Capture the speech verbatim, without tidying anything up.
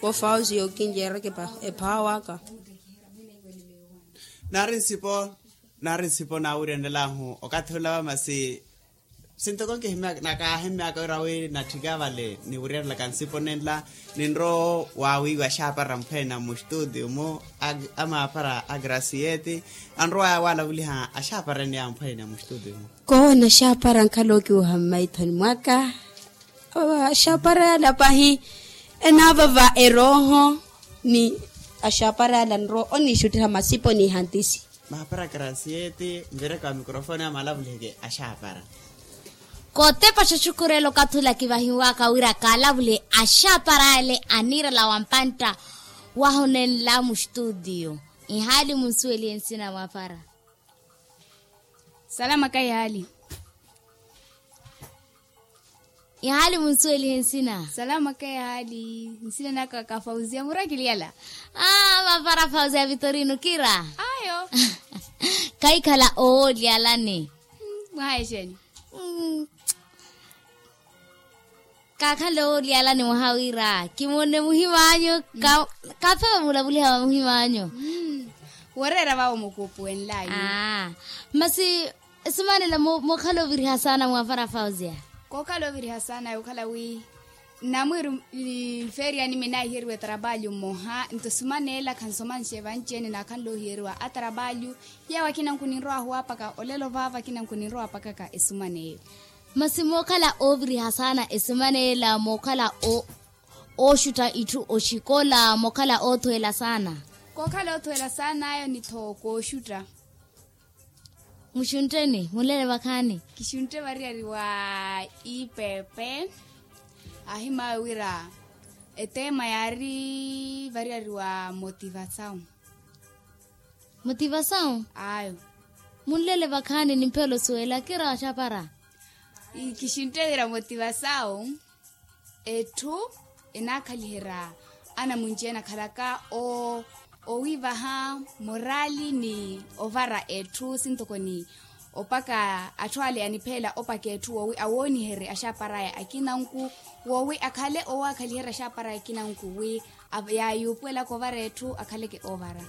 Ofausi yookinceeraka ephawa aka. Naari nsipo naari nsipo naawiryanelahu okathi olawa masi sintoko nkihimyaka nakaahimmyaka wira wi natthika vale niwiryerelaka nsipo nenla. Ninrowo waawiiwa axaapara mphweene muxtuutiyo-mu amaapara a grasiyeti anrowaya waalavuliha axaapara ene ya mphweene muxtuutiyo-mu. Koona axaapara nkhala okiwoha mmaithoni mwaka. Axaapara yala pahi enaavava erooho ni axaapara yala nrowa oniixuttiha masipo n'ihantisi. Maapara grasiyeti nvireke wa mikrofoni amaalavuliheke axaapara. Kootepa xaxukhurela okathi ula kivahiwaka wira kaalavulihe axaapara ale aniirala wa mpantta waho nenla muxtuutiyo. Ihaali munsuwelihe nsina mwaapara. Salama ka ihaali. Ihaali munsuwelihe nsina. Salama ka ihaali. Nsina naka ka fausia murakiliyala. Aa mapara fausia vitorino kira. Ayo. Kaikhala owooliyalani. Mwaha exeni. Kaakhala owooliyalani mwaha wira kimonne muhim'anyu. Kaafewa muulavuliha wa muhim'anyu. Woreera vawo mukuupuwenlayu. Masi esimanela mookhala oviriha saana mwaafara fausia. Kookhala oviriha saana yookhala wi nnamwiiru nfeeriyani minaahiyeriwa etrabalyu mmoha nto esimanela khansomanxe vanci-ene naakhanle ohiyeriwa atrabalyu. Yawo akina nkuninrowa ahuwapaka olelo vaava akina nkuninrowa apakaka esiman'eyo. Masi mookhala ooviriha saana esiman'ela mookhala ooxutta itthu oxikola mookhala oothuwela saana. Kookhala oothuwela saan'ayo ni-tho kooxutta. Muxuntteni munlele vakhaani. Kixuntte variyari wa ipepe. Ahimawe wira eteema yaari variyari wa motivasawu. Motivasawu. Ayo. Munlele vakhaani nimphelo suwela kira axapara. Kixuntte wira motivasawu. Etthu enaakhaliherya anamunci-ene akhalaka owiivaha morali ni ovara etthu sintoko ni opaka atthu ale anipheela opaka etthu woowi awooniherye axapar'aya akinanku woowi akhale owaakhaliherya axapar'aya akinanku wi yaayuupuwelaka ovara etthu akhaleke oovara.